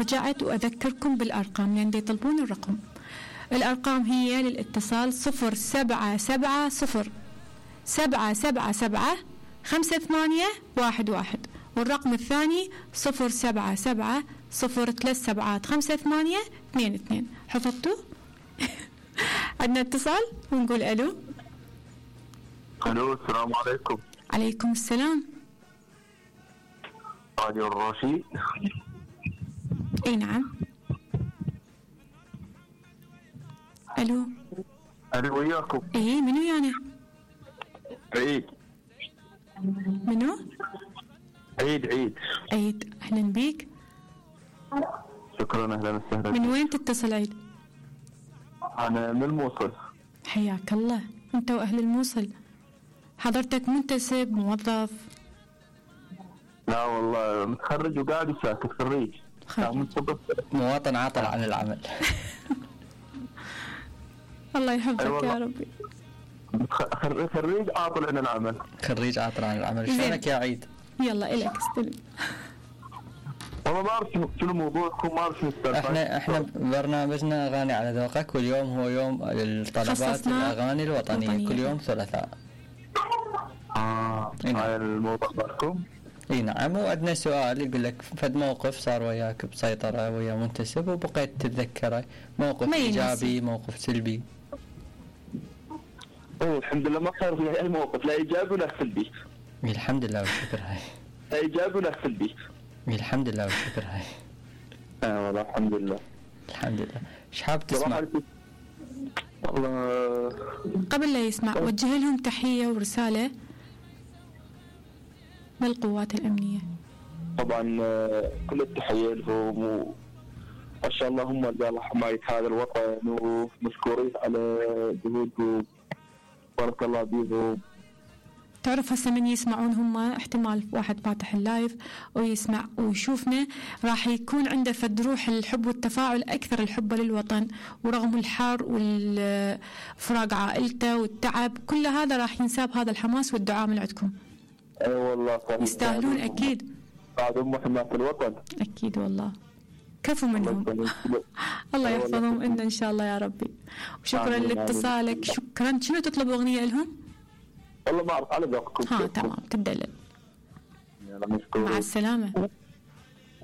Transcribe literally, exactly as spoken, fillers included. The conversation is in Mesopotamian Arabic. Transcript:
رجعت وأذكركم بالأرقام لأن يطلبون الرقم. الأرقام هي للاتصال صفر سبعة سبعة صفر سبعة سبعة سبعة خمسة ثمانية واحد واحد، والرقم الثاني صفر سبعة سبعة صفر ثلاث سبعات خمسة ثمانية اثنين اثنين. حفظتوا؟ عندنا اتصال ونقول ألو. ألو، السلام عليكم. عليكم السلام. راديو الرشيد. اي نعم. الو. الو وياكم. اي منو يعني؟ عيد. منو؟ عيد عيد. عيد، اهلا بيك. شكرا، اهلا وسهلا. من وين تتصل عيد؟ انا من الموصل. حياك الله، انت واهل الموصل. حضرتك منتسب موظف؟ لا والله متخرج وقاعد وساكت. خريج. مواطن عاطل عن العمل. الله يحفظك يا ربي. خريج عاطل عن العمل. خريج عاطل عن العمل. شلونك يا عيد؟ يلا إلك استلم. والله ما اعرف شنو موضوعكم، ما اعرف شنو. احنا احنا برنامجنا اغاني على ذوقك، واليوم هو يوم الطلبات الاغاني الوطنيه وطنية. كل يوم ثلاثاء. اه هاي الموضوع مالكم؟ اي نعم. وعندنا سؤال يقول لك فد موقف صار وياك بسيطره ويا منتسب وبقيت تتذكره، موقف ايجابي موقف سلبي. اوه الحمد لله ما صار في اي موقف لا ايجابي ولا سلبي. الحمد لله والشكر. هاي لا ايجابي ولا سلبي. الحمد لله والشكر. هاي اه والله الحمد لله. الحمد لله. ايش حاب تسمع؟ والله قبل لا يسمع وجه لهم تحيه ورساله من القوات الامنيه. طبعا كل التحيه لهم وما شاء الله هم رجال حمايه هذا الوطن ومشكورين على جهودهم، بارك الله بيهم. تعرف هسه من يسمعون هم احتمال واحد فاتح اللايف ويسمع ويشوفنا راح يكون عنده فد روح الحب والتفاعل أكثر، الحب للوطن ورغم الحر والفراق عائلته والتعب كل هذا راح ينساب هذا الحماس والدعاء من عندكم. اي والله صحيح. يستاهلون أكيد. بعد أم حماية الوطن. أكيد والله. كفو منهم. الله يحفظهم إن إن شاء الله يا ربي. وشكرا لاتصالك. شكرا. شنو تطلب أغنية لهم؟ والله ما أعرف على ذوقكم. ها تمام تدلل. يلا مشكور. مع السلامة.